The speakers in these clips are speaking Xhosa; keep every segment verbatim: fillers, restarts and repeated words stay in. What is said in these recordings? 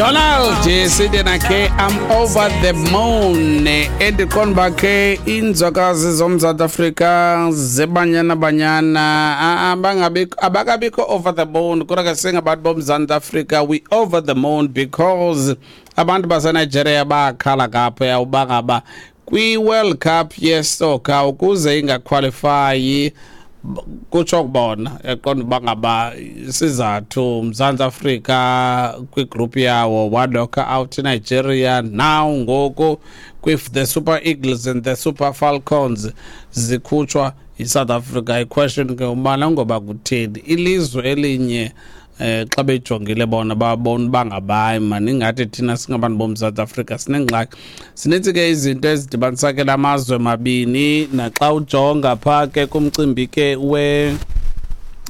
Donald sithi nakhe "I'm over the moon". Endiqonda uba ke iinzwakazi zoMzantsi Afrika zeBanyana Banyana abangabikho, abakabikho over the moon, kodwa ke singabantu boMzantsi Afrika we over the moon, because abantu baseNigeria bakhala kapha uba ngaba kwi-World Cup yesoccer ukuze ingaqualifyi, kutsho kubona yaqonda uba ngaba isizathu uMzantsi Afrika kwigroup yawo waknocka out iNigeria. Now ngoku with the Super Eagles and the Super Falcons zikhutshwa yiSouth Africa, iquestion ke ubana ngoba kutheni ilizwe elinye eh xa bejongile bona babona uba ngabayi mani, ingathi thina singabantu boMzantsi Afrika sinengxaki. Sinintsi ke izinto ezidibanisa ke lamazwe mabini, naxa ujonga phaa ke kumcimbi ke we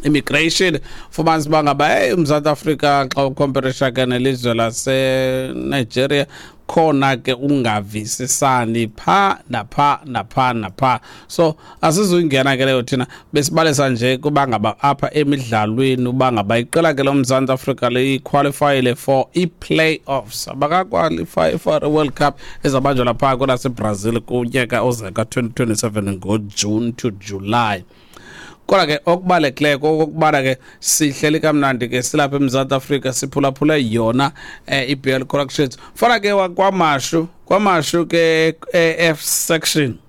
immigration, fumanisa uba ngaba hey, uMzantsi Afrika xa ucomparisha ke nelizwe laseNigeria, khona ke ungavisisani pha napha napha napha. So asizuyingena ke leyo, thina besibalisa nje kuba ngaba apha emidlalweni uba ngaba iqela ke loMzantsi Afrika liqualifyile for i-playoffs, abakaqualify for i-World Cup ezabanjwa lapha kwelaseBrazil kunyaka ozayo ka-twenty twenty-seven ngoJune to July. Kodwa ke okubalulekileyo kokokubana ke sihleli kamnandi ke silapha eMzantsi Afrika, siphulaphule yona eh, i-B L Corrections. Fana ke kwaMashu, kwaMashu ke e-F section,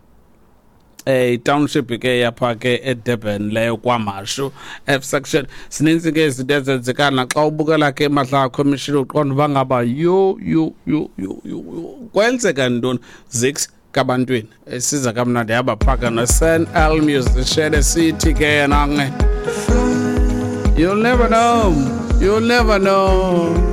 eh township ke yapha ke eDurban leyo kwaMashu F section, sininzi ke izinto ezenzeka naxa ubukela ke Madlanga Commission, uqonda uba ngaba yo yo yo yo yo kwenzeka ntoni. Zix kabantwini esiza kamnandi yaba phaka no-San L musician esithi ke yena, "You'll never know, you'll never know."